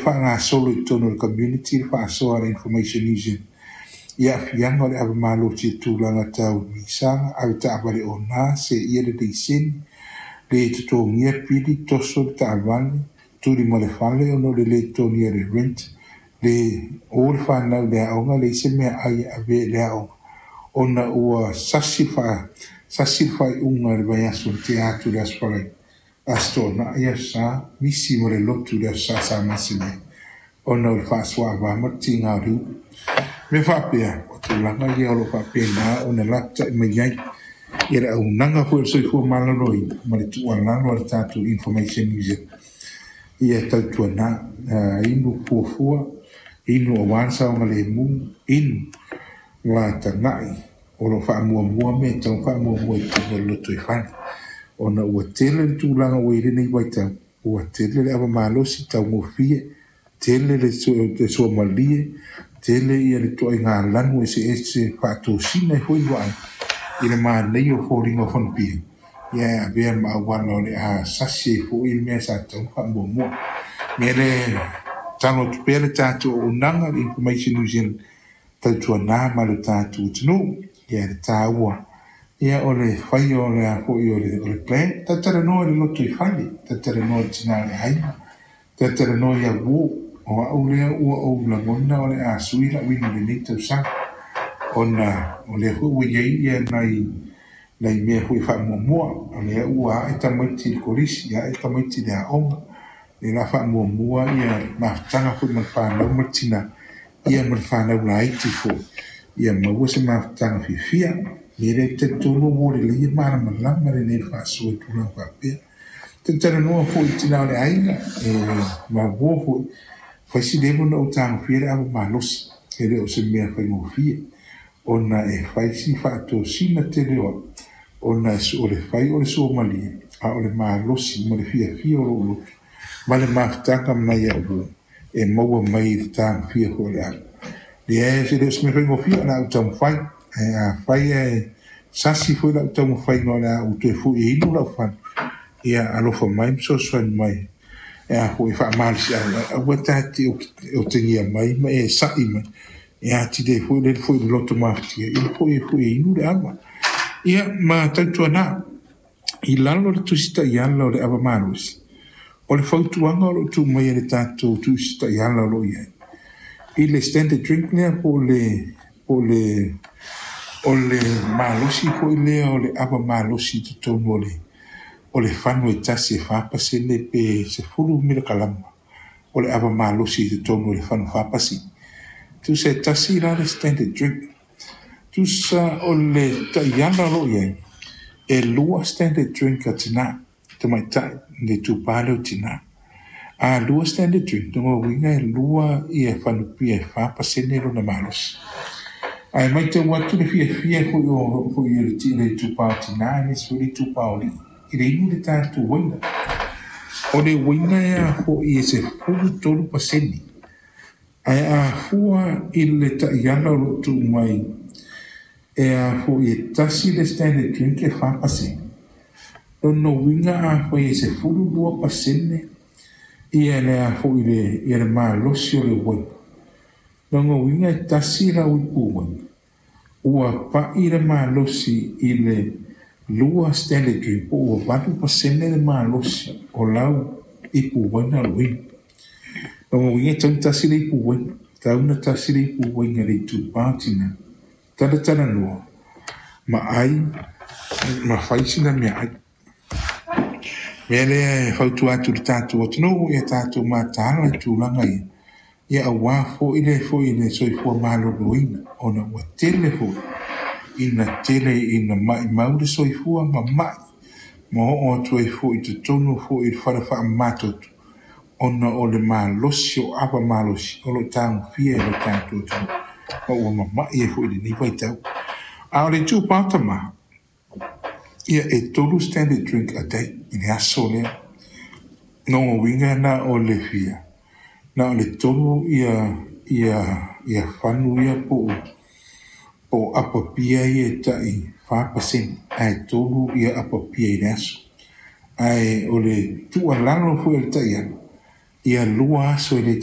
faagasolo i totonu o le community le faasoa a le Information New Zealand i aafiaga o le ava malosi i tulaga tau misaga, avetaavale ona, seia le laisene, le totogia pili, toso le taavale, tuli ma le fale ona o le lē totogia o le rent, le o le fanau i le aoga, leai se meaai e ave i le aoga ona ua sasi le faaiuga i le vaiaso na tea atu i le Aso Faraile, Aso Toonai, Aso Sa, misi ma le lotu i le Aso Sa sa masani ai ona o le faasoaava ma le tiga o le ulu. Mea faapea, o tulaga ia o lo o faapena ona lapatai mai ai ia le auaunaga foi o le soifua maloloina ma le tuualalo a le tatou Information New Zealand ia tautuana inu fuafua, inu aua le saogalemu, inu ma tagai o lo o faamuamua mea e tatau ona faamuamua i totonu o le lotoifale ona ua tele le tulaga ua i ai lenei vaitau, ua tele le ava malosi taugofie, tele le suamalie, tele ia le ituaiga lanu eseese faatosina ai foi le vaai i le manaia o foliga o fanupia, ia e avea ma auala o le a sasi ai foi le mea sa tatau ona faamuamua. Mea lea e tatalo atu pea le tatou auaunaga, le Information New Zealand, tautuana ma le tatou atunuu, ia le taua ia o le faia o le a foi o le plan, talatalanoa i le lotoifale, talatalanoa i le tina o le aiga, talatalanoa i auō, o au lea ua ou lagona o le a sui lau inu i lenei tausaga ona o lea foi ua i ai ia nai mea foi faamuamua, o lea ua ae tamaiti i le kolisi, ae tamaiti i le aoga, lea la faamuamua ia mafutaga foi ma le fanau ma le tina, ia ma le fanau laiti foi, ia maua se mafutaga fiafia. Mea lea e talitonu ua lelei e malamalama lenei faasoa i tulaga faapea. Talatalanoa foi i tina o le aiga, e maua foi, fai si leva ona ou tagofia le ava malosi, e le o se mea faigofie, ona e fai si faatosina tele o au, ona o le fai o le suamalie, a o le malosi ma le fiafia o lou loto, ma le mafutaga mai au e maua mai i le tagofia foi o le ava. Lea e le o se mea faigofie, o le a ou taumafai. A fai e sasi foi lau taumafaiga o le a ou toe fui e inu lau fana, ia alofa mai ma fesoasoani mai. E a foi faamalosiau, aua ta te otegia mai ma e sa'i mai. E atili ai foi le foi le loto mafatia, ia foi e foi e inu le ava. Ia ma tautuana, i lalo le tusi taiala o le ava malosi, o le fautuaga o loo tuu mai e le tatou tusi taiala o loo i ai i le standard drink lea po o le malosi foi lea o le ava malosi i totonu o le fanu e tasi e 4% pe 10 milikalama o le ava malosi i totonu o le fanu 4%. Tusa e tasi la le standard drink. Tusa o le taiala o loo i ai, e 2 standard drink a tina, tamaitai, le itupa lea o tina. A 2 standard drink, lona uiga e 2 ia fanupia e 4% lona malosi. Ae matau atu le fiafia foi o foi le itupa o tina, aemaise foi le itupa o alii, i le inu le tatou uaina. O le uaina e a foi e 13%. Ae a fua i le taiala o loo tuu mai e a foi e tasi le standard drink e 4%. Lona uiga a fai e 12% ia le a foi le, ia le malosi o le uaina. Lona uiga e tasi lau ipu uaina, ua pa'i le malosi i le 2 standard drink po ua 8% le malosi o lau ipu uaina o loo inu. Lona uiga e tatau ona tasi le ipu uaina, tatau ona tasi le ipu uaina i le itupa o tina. Talatalanoa ma ai ma fai sina meaai. Mea lea e fautua atu i le tatou atunuu, ia tatou mataala i tulaga ia, ia aua foi le foi le soifua maloloina, ona ua tele foi ina tele ina maimau le soifua ma mai ma oo atu ai foi i totonu foi i le fale faamamatoto, ona o le malosi o ava malosi o loo tagofia e le tatou atunuu, ma ua mamai ai foi i lenei vaitau. A o le itupa o tama, ia e 3 standard drink a day i le aso lea. Lona uiga na o le fia, na o le 3 ia fanu ia po o apa pia ia e tai 4%, ae 3 ia apa pia i le aso. Ae o le tuualalo foi o le taiala, ia 2 aso e le